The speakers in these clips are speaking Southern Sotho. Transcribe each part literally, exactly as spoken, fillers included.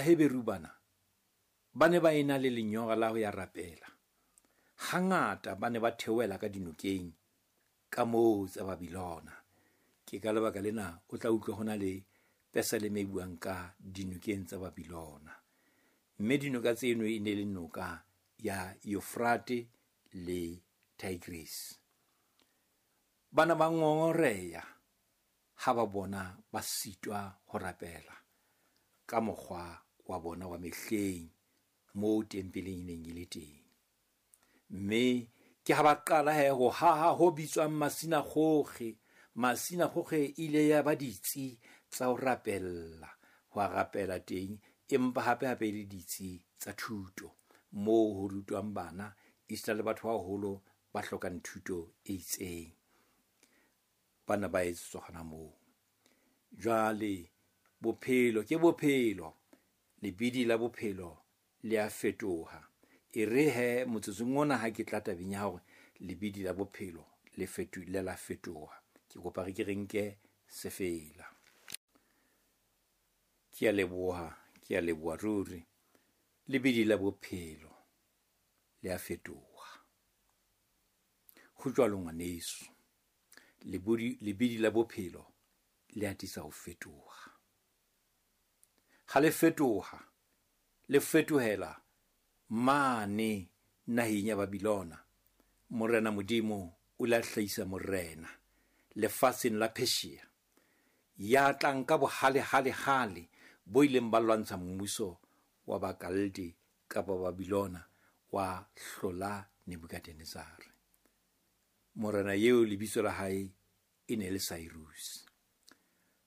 Baheberu bana ba ne ba ena le lenyora la ho ya rapela. Hangata ba ne ba theohela ka dinokeng ka moo tsa Babilona. Ke ka lebaka lena o tla utlwa hona le pesaleme e buang ka dinokeng tsa Babilona. Mme dinoka tseno e ne le noka ya Eufrate le Tigris. Bana ba ngongoreha ha ba bona ba sitwa ho rapela ka mokgwa wa bona wa mehleng moo tempeleng e neng e le teng. Mme ke ha ba qala he ho haha ho bitswang masinagoge. Masinagoge ile ya ba ditsi tsa ho rapella, ho rapela teng, empa hape hape le ditsi tsa thuto moo ho rutwang bana esita le batho ba baholo ba hlokang thuto e itseng. Bana ba etsetswa hona moo. Jwale bophelo ke bophelo, lebidi la bophelo le a fetoha. E re he motsotsong ona ha ke tla tabeng ya hore lebidi la bophelo le fetu le la fetoha, ke kopa re ke re nke sefela. Ke a leboha, ke a leboha ruri. Lebidi la bophelo le a fetoha. Ho jwalo ngwaneso, lebodi lebidi la bophelo le atisa ho fetoha. Ha le fetoha, le fetohela mane naheng ya Babilona. Morena Modimo o la hlahisa morena lefatsheng la Persia, ya tlang ka bohale hale hale bo ileng ba lwantsha mmuso wa Bakalde kapa Babilona wa hlola Nebukadnezare. Morena eo lebitso la hae e ne le Cyrus.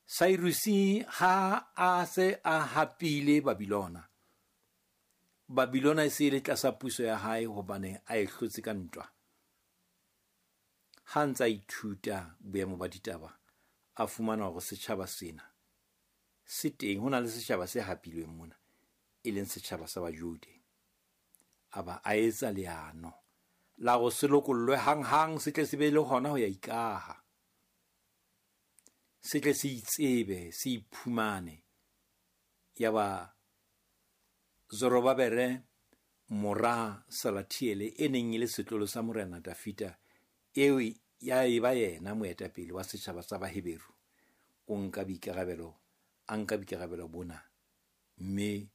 Cyrus ha a se a hapile Babilona, Babilona e se e le tlasa puso ya hae hobane a e hlotse ka ntwa. Ha ntsa ithuta boemo ba ditaba, a fumana hore setjhaba sena se teng, ho na le setjhaba se hapilweng mona, e leng setjhaba sa Bajude. A ba a etsa leano la hore se lokollwe hanghang, se tle se be le hona ho ya ikaha, se tle se itsebe, se iphumane. Ya ba Zorobabele mora Salathiele e neng e le setlolo sa morena Dafita, eo ya eba yena moetapele wa setjhaba sa Baheberu, o nka boikarabelo, a nka boikarabelo bona, mme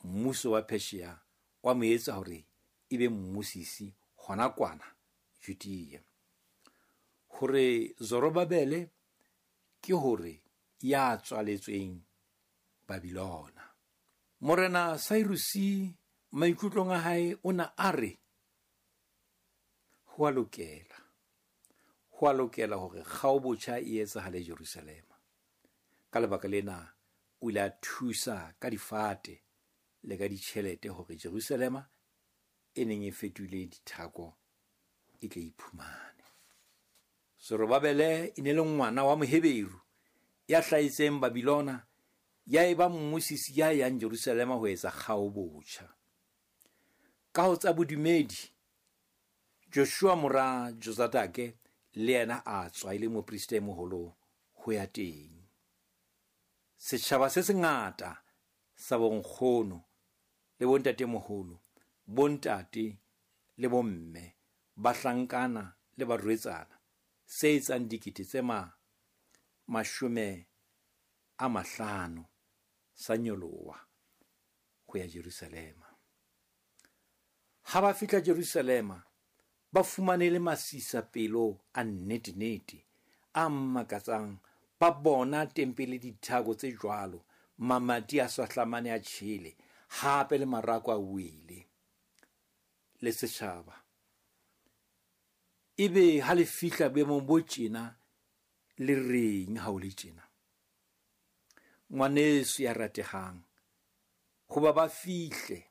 mmuso wa Persia wa mo etsa hore e be mmusisi hona kwana Judea. Hore Zorobabele ke hore ya tswaletsweng Babilona. Morena Cyrus maikutlong a hae o na a re ho a lokela, ho a lokela hore kgaobotjha e etsahale Jerusalema. Ka lebaka lena o ile a thusa ka difate le ka ditjhelete hore Jerusalema e neng e fetohile dithako e tle iphumane. Zorobabele e ne le ngwana wa Moheberu ya hlahetseng Babilona, ya eba mmusisi ya yang Jerusalema ho etsa kgaobotjha. Ka ho tsa bodumedi, Joshua mora Jozadake le yena a tswa e le moprista e moholo ho ya teng. Setjhaba se sengata sa bonkgono le bontatemoholo, bontate le bomme, bahlankana le barwetsana, se etsang dikete tse ma mashome a mahlano sa nyoloha ho ya Jerusalema. Ha ba fihla Jerusalema, ba fumane le masisa pelo a nnete-nnete a makatsang. Ba bona tempele dithako tse jwalo, mamati a swahlamane a tjhele, hape le marako a wele le setjhaba. Ebe ha le fihla boemong bo tjena, le reng ha o le tjena? Ngwaneso ya ratehang, hoba ba fihle,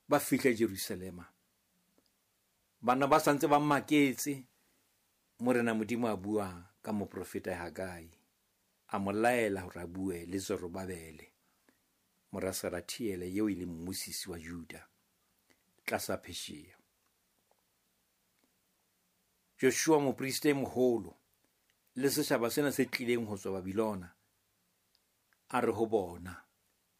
ba fihle Jerusalema, bana ba santse ba maketse. Morena Modimo a bua ka moprofeta Hagai, a mo laela hore a bue le Zorobabele mora Salathiele eo e leng mmusisi wa Juda tlasa Persia. Joshua moprista e moholo le setjhaba sena se tlileng ho tswa Babilona, a re ho bona,